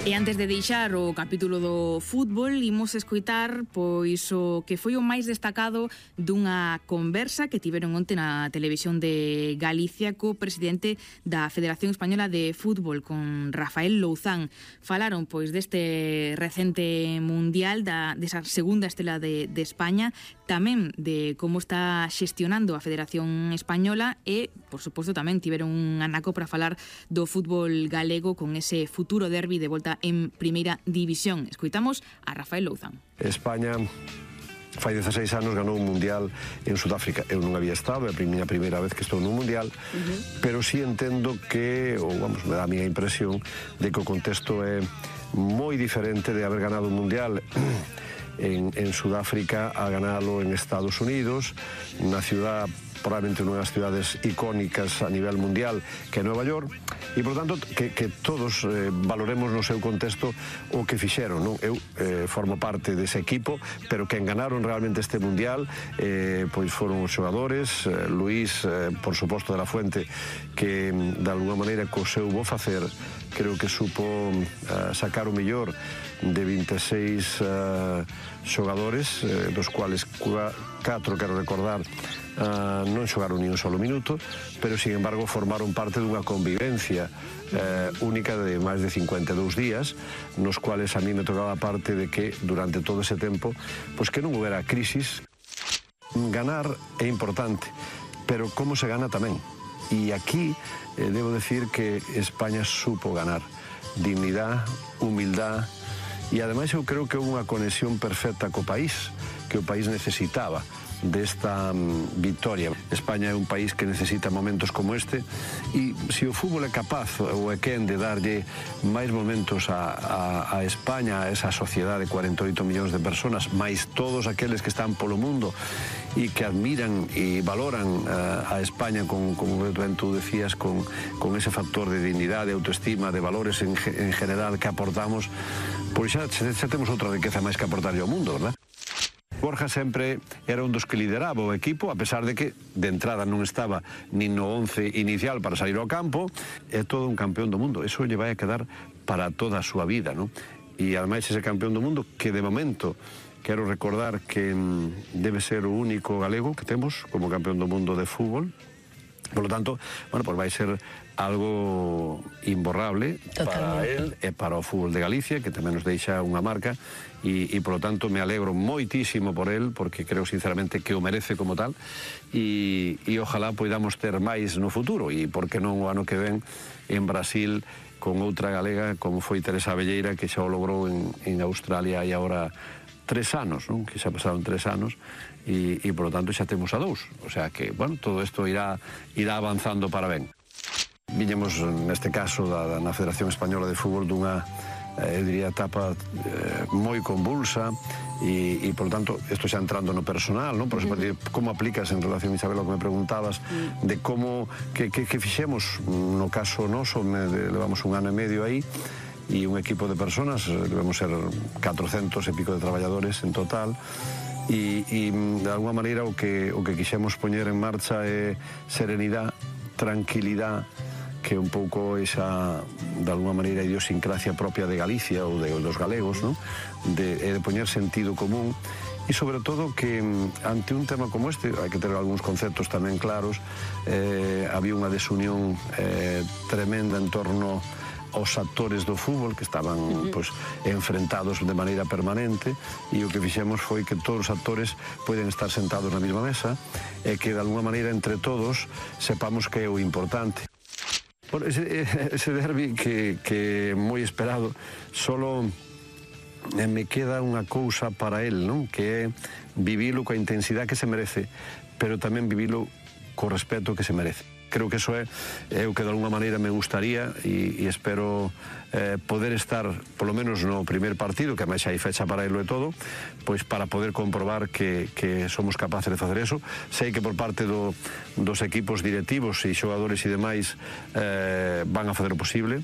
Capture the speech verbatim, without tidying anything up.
E antes de deixar o capítulo do fútbol, imos escoitar pois o que foi o máis destacado dunha conversa que tiveron onte na televisión de Galicia co presidente da Federación Española de Fútbol, con Rafael Louzán. Falaron pois deste recente mundial, da, desa segunda estela de, de España, tamén de como está xestionando a Federación Española e, por suposto, tamén tiveron un anaco para falar do fútbol galego con ese futuro derbi de volta en Primeira División. Escoitamos a Rafael Louzán. España fai dezaseis anos ganou un mundial en Sudáfrica. Eu non había estado, é a miña primeira vez que estou nun mundial, uh-huh. pero sí entendo que, ou vamos, me dá a miña impresión de que o contexto é moi diferente de haber ganado un mundial en, en Sudáfrica a ganalo en Estados Unidos, na ciudad, probablemente unha das ciudades icónicas a nivel mundial, que é Nova York, e, por tanto, que, que todos eh, valoremos no seu contexto o que fixeron, non? Eu eh, formo parte dese equipo, pero quen ganaron realmente este mundial eh, pois foron os xogadores, eh, Luís, eh, por suposto, de la Fuente, que, de alguna maneira, co seu bo facer, creo que supo eh, sacar o mellor de vinte e seis uh, xogadores, eh, dos cuales catro, quero recordar, uh, non xogaron ni un solo minuto, pero, sin embargo, formaron parte dunha convivencia eh, única de máis de cincuenta e dous días, nos cuales a mí me tocaba parte de que, durante todo ese tempo, pois que non houbera crisis. Ganar é importante, pero como se gana tamén. E aquí eh, debo decir que España supo ganar. Dignidade, humildade, e ademais eu creo que houve unha conexión perfecta co país, que o país necesitaba desta um, victoria. España é un país que necesita momentos como este, e se o fútbol é capaz ou é quen de darlle máis momentos a, a, a España, a esa sociedade de cuarenta e oito millóns de personas, máis todos aqueles que están polo mundo e que admiran e valoran uh, a España con, como ben tú decías, con, con ese factor de dignidade, de autoestima, de valores en, en general que aportamos, pois xa, xa temos outra riqueza máis que aportarlle ao mundo, verdad? Borja sempre era un dos que lideraba o equipo, a pesar de que de entrada non estaba nin no once inicial para salir ao campo. É todo un campeón do mundo, eso lle vai a quedar para toda a súa vida, non? E ademais ese campeón do mundo que de momento quero recordar que debe ser o único galego que temos como campeón do mundo de fútbol. Por lo tanto, bueno, pues vai ser algo imborrable. Totalmente. Para él e para o fútbol de Galicia, que tamén nos deixa unha marca, e, e por lo tanto me alegro moitísimo por él, porque creo sinceramente que o merece como tal, e, e ojalá poidamos ter máis no futuro, e por que non o ano que ven en Brasil con outra galega como foi Teresa Abelleira, que xa o logrou en, en Australia e agora tres anos, non? Que xa pasaron tres anos, e, e por lo tanto xa temos a dous, o sea que, bueno, todo isto irá, irá avanzando para ben. Viñemos, neste caso, da, da, na Federación Española de Fútbol dunha, eh, eu diría, etapa eh, moi convulsa, e, e, por tanto, isto xa entrando no personal, non? Por exemplo, uh-huh. como aplicas en relación, Isabel, ao que me preguntabas, uh-huh. de como, que, que, que fixemos, no caso noso, me, de, levamos un ano e medio aí, e un equipo de personas, debemos ser catrocentos e pico de traballadores en total, e, e de alguma maneira o que, o que quixemos poñer en marcha é serenidade, tranquilidade, que é un pouco esa, de alguma maneira, idiosincrasia propia de Galicia ou de, dos galegos, ¿no? de, de poñer sentido común, e sobre todo que ante un tema como este hai que ter algúns conceptos tamén claros. Eh, había unha desunión eh, tremenda en torno aos actores do fútbol que estaban uh-huh. pues, enfrentados de maneira permanente, e o que fixemos foi que todos os actores poden estar sentados na mesma mesa e que de alguna maneira entre todos sepamos que é o importante. Bueno, ese, ese derbi que, que é moi esperado, solo me queda unha cousa para él, non? Que é vivilo coa intensidade que se merece, pero tamén vivilo co respeto que se merece. Creo que eso é, é o que de alguna maneira me gustaría, e, e espero eh, poder estar, polo menos no primer partido, que a máis hai fecha para elo e todo, pois para poder comprobar que, que somos capaces de facer eso. Sei que por parte do, dos equipos directivos e xogadores e demais eh, van a facer o posible,